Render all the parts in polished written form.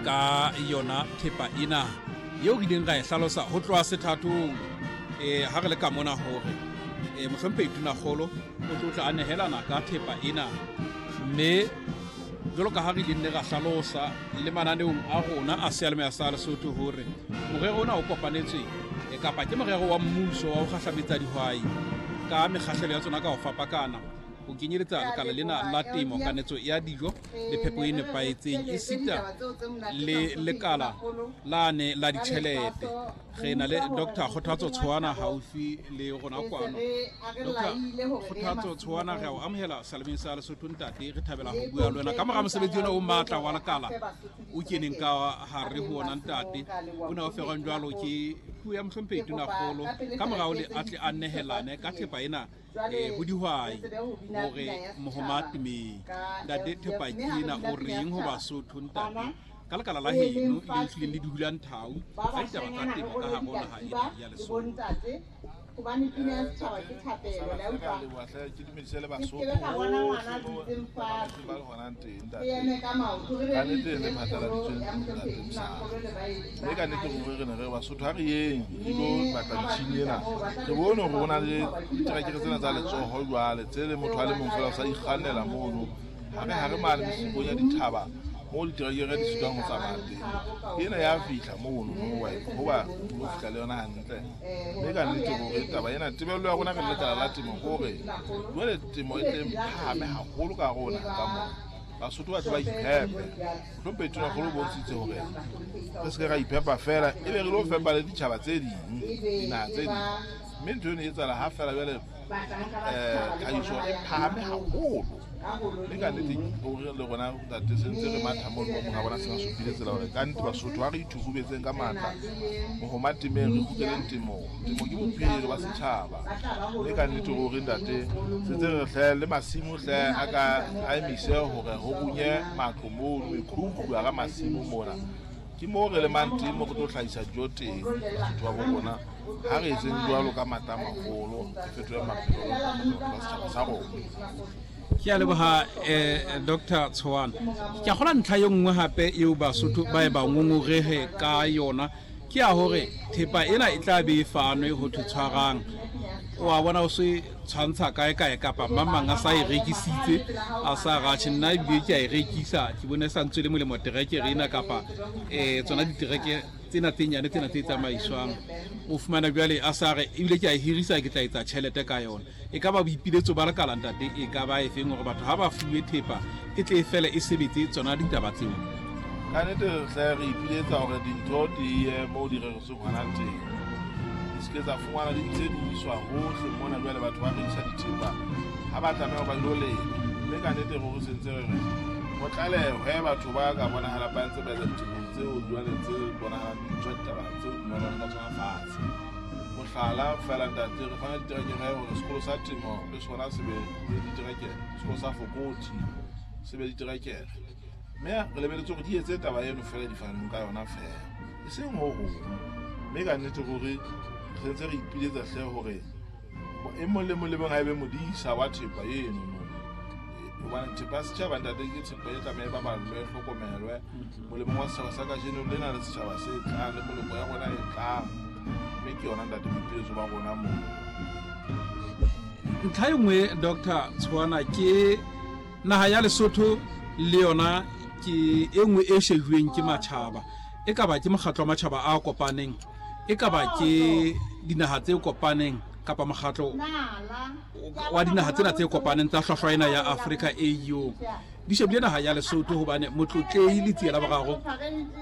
Ka yona thepa ena eo re ileng ra e hlalosa ho tloha sethathong um ha re le ka mona hore um mohlomphehi Tonakgolo o tlo tla a nehelana ka thepa ena, mme jwalo ka ha re ileng ne ra hlalosa le mananeong a rona a seyalemoya sa Lesotho hore morero ona o kopanetswe e kapa ke morero wa mmuso wa ho kgahlametsa dihwai ka mekgahlelo ya tsona ka ho fapakana, ho kenyeletsa lekala lena la temo, kanetso ya dijo le phepo e nepahetseng, esita le lekala lane la ditjhelete. Re na le Dr Kgothatso Tshoana haufi le rona kwano. Dr Kgothatso Tshoana, re a o amohela salemeng sa Lesotho. Ntate, re thabela ho bua le wena ka mora mosebetsi ona o matla wa lekala o keneng ka hare ho ona. Ntate, o ne o ferwang jwalo ke puo ya mohlomphehi Tonakgolo ka morao le atle a nehelane ka thepa ena ho dihwai hore mohoma temeng. Ntate, thepa ke ena, o reng ho Basotho, ntate, ka lekala la heno le hlileng le di hulang thau ka ditaba tsa temo ka hare ho naha ena ya Lesotho? Hobane pina ya setjhaba ke thapelo, la utlwa? Ke dumedise le Basotho Ke ka bona ngwana a dutseng fatshe. ba le honang teng. Re eme ka maoto, re be Ka re nnete itse le phatlaladitsweng ya ntate mohlomphehi Mosala. Makgolo le baeti Mme ba ka nnete hae. ruri re ne re re Basotho ha re yeng re lo batla metjhini ena. Re bone hore ho na le diterekere tsena tsa letsoho jwale tse le motho a le mong fela o sa ikgannela mono hare hare mane mesikong ya dithaba moo diterekere di sitwang ho tsamaya teng. Ena ya fihla mono no wa hoba o fihla le yona hantle. Mme ka nnete ruri taba ena, tebello ya rona re le lekala la temo ke hore jwale temo e tle phahame haholo ka hare ho naha ka mona, Basotho ba tle ba iphepe. Mohlomphehi Tonakgolo o bontshitse hore re se ke ra iphepa fela, ebe re lo fepa le ditjhaba tse ding, dinaha tse ding. Mme ntho eno e etsahala ha fela jwale tlhahiso e phahame haholo. Mme ka nnete ruri le rona, ntate, se ntse re matha mono mo monga rona sena supile tsela hore ka nnete Basotho ha re ithukubetseng ka matla mohoma temeng, re kgutleleng temong. Temo ke bophelo ba setjhaba. Mme ka nnete ruri, ntate, se ntse re hle le masimo hle a ka a emise hore ho runye matlo mono, mekhukhu hara masimo mona. Ke moo re lemang teng, mo re tlo hlahisa dijo teng, Basotho ba bo rona. Ha re etseng jwalo ka matla a maholo, re fetole maphelo le ntlafatsa bophelo ba setjhaba sa rona. Ke a leboha Dr Tshoana. Ke a kgola ntlha e nngwe hape eo Basotho ba e ba ngongorehe ka yona ke ya hore thepa ena e tla be e fanwe ho thwe tshwarang, wa bona o se tshwantsha kae kae kapa mang mang a sa e rekisitse, a sa ratjhe, nna ebile ke a e rekisa, ke bone sa ntswele molemo terekere ena kapa tsona ditereke tsena tse nyane tsena tse tsamaiswang. O fumana jwale a sa re ebile ke a e hirisa, ke tla etsa tjhelete ka yona. E ka ba boipiletso ba lekala, ntate, e ka ba efeng hore batho ha ba fuwe thepa e tle e fele e sebetse tsona ditaba tseo? Ka nnete re hle re ipiletsa hore dintho di ye moo di reretsweng hona teng, di se ke tsa fumana di ntse di iswa hohle mona. Jwale batho ba rekisa dithepa ha ba tlameha ho ba ilo lema. Mme ka nnete ruri se ntse re re ho tlalehwe batho ba ka bonahalang ba ntse ba etsa ditemo tseo jwale tse bonahalang di tswa ditaba tseo dumelwang ka tsona fatshe. Mohlala fela, ntate, re fana diterekere hore sekolo sa temo le sona se be le diterekere, sekolo sa Fokothi se be diterekere, mme re lebeletse hore di etse taba eno fela di faneng ka yona fela, e seng ho hong. Mme ka nnete ruri re ntse re ipiletsa hle hore e mong le mong le mong a ebe modisa wa thepa eno no, hobane thepa ya setjhaba, ntate, ke thepa e tlameha e baballwe, e hlokomelwe molemong wa setjhaba sa kajeno lena le setjhaba se tlang le moloko ya rona e tlang. Mme ke yona, ntate, boipiletso ba rona moo. Ntlha e nngwe, Dr Tshoana, ke naha ya Lesotho le yona ke e nngwe e shejuweng ke matjhaba, e ka ba ke mokgatlo wa matjhaba a kopaneng, e ka ba ke dinaha tse kopaneng kapa mokgatlo wa dinaha tsena tse kopaneng tsa hlwahlwa ena ya Afrika, AU, di shebile naha ya Lesotho hobane Motlotlehi Letsie la Boraro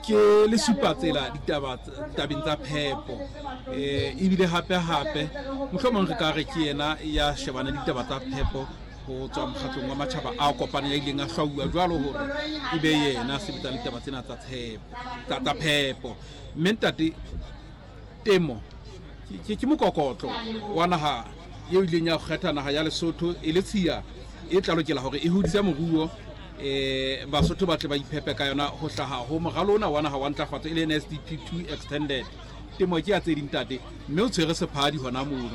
ke lesupatsela ditaba tabeng tsa phepo, ebile hape hape mohlomong re ka re ke yena ya shebane ditaba tsa phepo ho tswa mokgatlong wa matjhaba a kopaneng, ya ileng a hlwauwa jwalo hore e be yena a sebetsang ditaba tsena tsa tshepo tsa phepo. Mme ntate, temo ke mokokotlo wa naha eo ileng ya kgetha naha ya Lesotho e le tshiya e tla lokela hore e hodise moruo, Basotho ba tle ba iphepe ka yona ho hlaha ho moralo ona wa naha wa ntlafatso e le NSDP 2 extended. Temo ke ya tse ding, ntate, mme o tshwere sephadi hona mono.